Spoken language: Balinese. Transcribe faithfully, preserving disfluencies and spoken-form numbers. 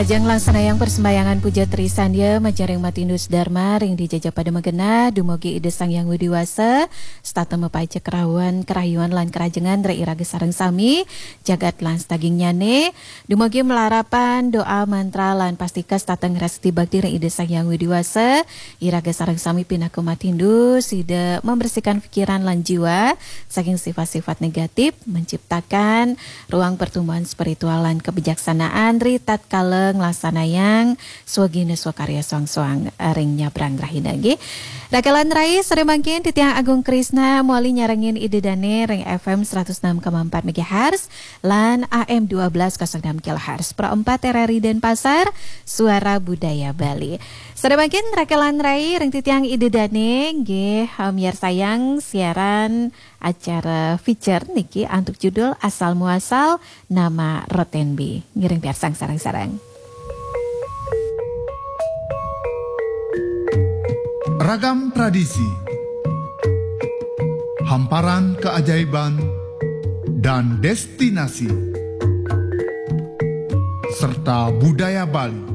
Ajeng langsanayang persembahyangan puja trisandia majaring matindus dharma ring dija pada magenah, dumugi Ida Sang Hyang Widi Wasa, setata mapaica kerawan, kerayuan lan kerajengan ring iraga sareng sami, jagat lan sadagingnyane, dumugi malarapan doa mantra lan pastika setata ngrastiti bakti ring Ida Sang Hyang Widi Wasa, iraga sareng sami pinaka matindus, sida membersihkan pikiran lan jiwa saking sifat-sifat negatif, menciptakan ruang pertumbuhan spiritual lan kebijaksanaan ri tatkala nglaksanayang swagina swakarya soang-soang ring nyabrang rahina nggih. Rakelan rai, sore mangkin titiang Agung Krisna mawali nyarengin Ida Dane ring F M seratus enam koma empat megahertz lan A M dua belas kosong enam kilohertz. Pro empat R R I Denpasar, Suara Budaya Bali. Sore mangkin rakelan rai ring titiang Ida Dane nggih, eh, miarsayang siaran acara feature niki antuk judul Asal Muasal Nama Rotenbi. Ngiring piarsang sareng-sareng. Ragam tradisi, hamparan keajaiban, dan destinasi, serta budaya Bali.